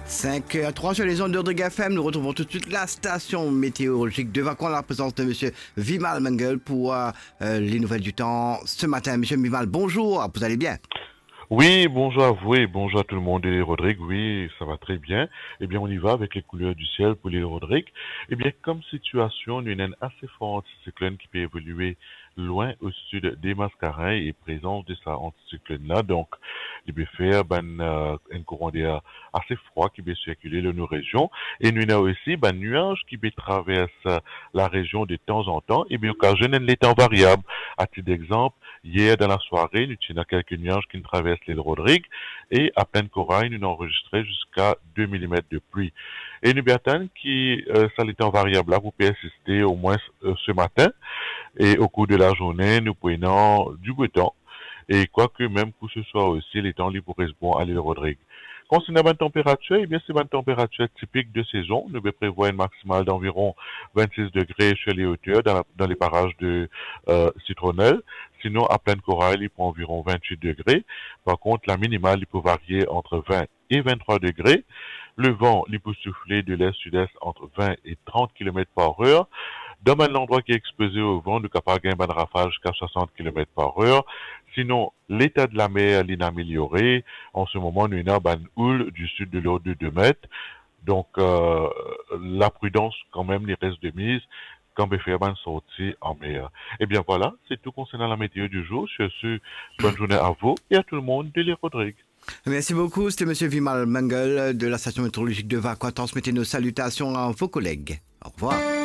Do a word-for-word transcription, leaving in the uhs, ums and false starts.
Cinq heures trois sur les ondes de Rodrigue F M. Nous retrouvons tout de suite la station météorologique de Vacoas, la présence de monsieur Vimal Mangal pour, euh, euh, les nouvelles du temps ce matin. Monsieur Vimal, bonjour, vous allez bien ? Oui, bonjour à vous et bonjour à tout le monde de l'île Rodrigue. Oui, ça va très bien. Eh bien, on y va avec les couleurs du ciel pour l'île Rodrigue. Eh bien, comme situation, nou ena enn ase for anticyclone ki pe evolue lwin o sid de Mascarenhas e prezans de sa anticyclone la, donk, li pe fer bann, euh, enn kouran der ase frwa ki pe sirkile lor nou rezion. E nou ena osi bann nwaz ki pe travers, euh, la rezion de tanzantan e pe okazione enn letan variab. A tit d'exemple, yer dan lasware, nou ti ena kelke nwaz ki'nn travers lil Rodrig e a Plaine Corail, nou'nn anrezistre ziska de milimet de pli. E nou pe atann ki, euh, sa letan variab la pou persiste omwin, euh, se matin. E o kour de lazourne, nou pou ena diboutan. E kwake mem pou se swar osi, letan li pou res bon a lil Rodrig. Konsernan bann tanperatir, ebien, se bann tanperatir tipik de sezon. Nou pe prevwar enn maksimal d'anviron vennsis degre sur les hauteurs dan la, dan le paraz de, euh, Citronelle. Sinon, a Plaine Corail, li pou anviron vennwit degre. Par kont, la minimal, li pou varie ant vin e venntrwa degre. Levan, li pou soufle de lest-sid-est ant vin e trant kilomet par er. Dan bann landrwa ki expoze o van, nou kapav gagn bann rafal ziska swasant kilomet par er. Sinon, leta de lamer, li'nn ameliore. An se moman, nou ena bann houl du sud de lord de de met. Donk, euh, lapridans kanmem, li res de miz kan pe fer bann sorti an mer. Ebien vwala, se tou konsernan la meteo di zour. Sur ce, bonne journée à vous et à tout le monde de l'île Rodrig. Merci beaucoup, c'était monsieur Vimal Mangal de la station météorologique de Vacoas. Transmettez nos salutations à vos collègues. Au revoir.